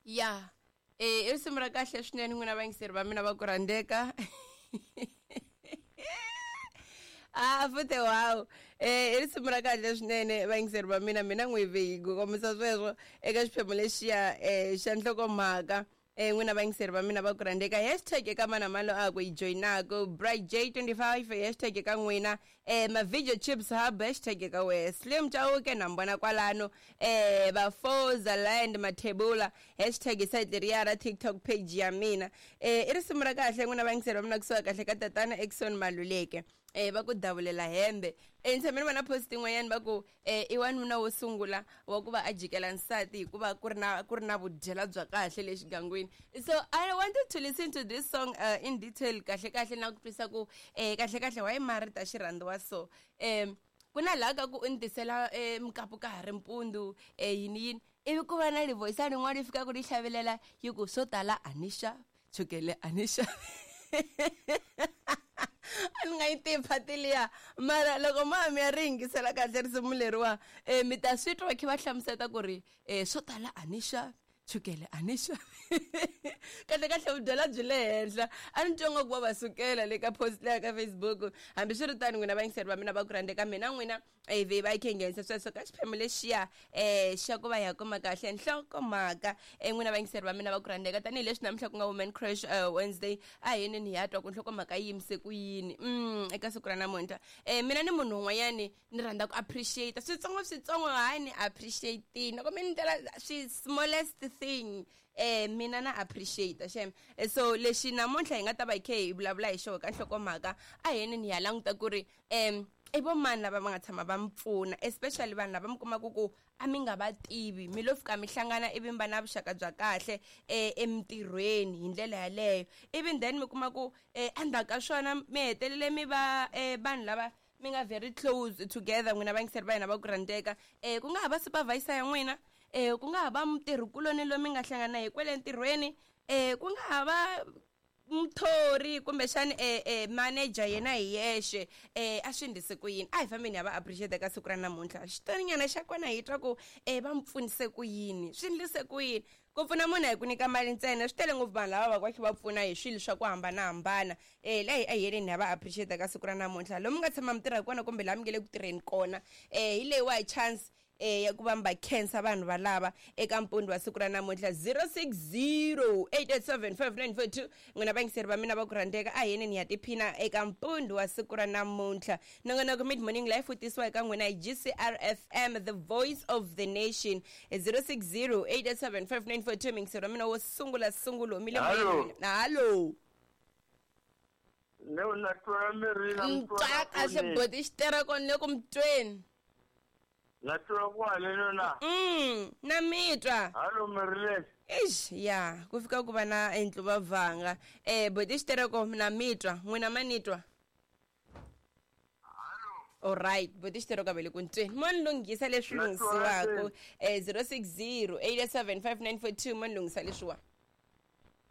Ya i risimu ra kahle swinene n'wina vayingiseri va mina va ku rhandzeka. A futhe wow, i risimu ra kahle swinene vayingiseri va mina. Mina n'wi vi ku kombisa sweswo eka xiphemu lexiya xa nhlokomhaka. N'wina vayingiseri va mina va ku rhandzeka, hashtag eka mana malo a ku yi joyinaku Bright J 25, hashtag eka n'wina ma-video chips hub, hashtag eka wehe Slim Chauke na mi vona kwalano, Vafoza Land Mathebula, hashtag site leriya ra TikTok page ya mina. I risimu ra kahle n'wina vayingiseri va mina, kusuka kahle ka tatana Exon Maluleke, va ku davulela hembe. Ni tshame ni vona post yin'wanyana va ku i wanuna wo sungula wa ku va a jikela nsati hikuva ku ri na vudyela bya kahle le xigangwini. So I wanted to listen to this song in detail, kahle kahle na ku twisa ku kahle kahle why mari ta xi rhandziwa. So ku na laha ka ku u ni tisela mukapu ka ha ri mpundzu, yini yini, ivi ku va na livoyisana yin'wana yi fikaka yi hlavelela yi ku swo tala a ni xavi, chukele a ni xavi. A ni nga yi tivi phati liya, mara loko ma mi ya ri yingisela kahle risimu leriwa, mi ta swi twa va kha va hlamuseta ku ri swo tala a ni xavi, chukele a ni xavi, kahle kahle vudyela byi le henhla. A ni twa nga ku va va sukela le ka post leya ka Facebook. Hambiswiritano n'wina vayingiseri va mina va ku rhandzeka, mina n'wina ivi va yi khe nghenisa sweswo ka xiphemu lexiya xa ku va hi ya kuma kahle nhlokomhaka. N'wina vayingiseri va mina va ku rhandzeka, tanihileswi namuntlha ku nga Women Crush Wednesday, a hi yini hi ya twa ku nhlokomhaka yi yimise ku yini eka siku ra namuntlha. Mina ni munhu un'wanyani ni rhandza ku appreciate switsongo switsongo, hayi ni appreciate loko mi ni ndlela swi smallest thing, mina na appreciate xem. So lexi namuntlha hi nga ta va hi khe hi vulavula hi xona ka nhlokomhaka, a hi yini ni ya languta ku ri i vo mani lava va nga tshama va mi pfuna, especially vanhu lava mi kumaka ku a mi nga va tivi, mi lo fika mi hlangana ivi mi va na vuxaka bya kahle emintirhweni hi ndlela yaleyo, ivi then mi kuma ku endzhaku ka swona mi hetelele mi va vanhu lava mi nga very close together. N'wina vayingiseri va hina va ku rhandzeka, ku nga ha va supervisor ya n'wina, ku nga ha va mutirhikuloni loyi mi nga hlangana hi kwele ntirhweni, ku nga ha va muthori kumbexani manager yena hi yexe, a swi endlise ku yini. A hi fambeni ya va appreciate ka siku ra namuntlha. Xitorinyana xa kona hi twa ku va mi pfunise ku yini, swi endlise ku yini. Ku pfuna munhu hi ku nyika mali ntsena, swi tele ngopfu vanhu lava va va kha va pfuna hi swilo swa ku hambanahambana. Laha a hi yeleni ya va appreciate ka siku ra namuntlha, lomu nga tshama mi tirha kona kumbe laha mi nge le ku tirheni kona. Hi leyiwa hi chance ya ku va mi va khensa vanhu valava eka mpundzu wa siku ra namuntlha, 060 887 5942. N'wina vayingiseri va mina va ku rhandzeka, a hi yeneni ya tiphina eka mpundzu wa siku ra namuntlha. Nongonoko Mid Morning Life wu tisiwa eka n'wina hi GCR FM, the voice of the nation. 060 887 5942, muyingiseri wa mina wo sungula sungula humile. Hallo. Moyeni, hallo. Ne na twa mirini. Mtwa kahle boti xitereko, ni le ku mutweni. Na twa kwale nona. Na mitwa. Hallo mirile. Eish, ya ku fika ku va na entluvavanga. Boti xitereko, na mitwa, n'wina ma nitwa? Alright, boti xitereko a ve le ku ntweni, mo ni lunghisa leswi Na twa lunghisiwaka. 060 887 5942, mo ni lunghisa leswiwa.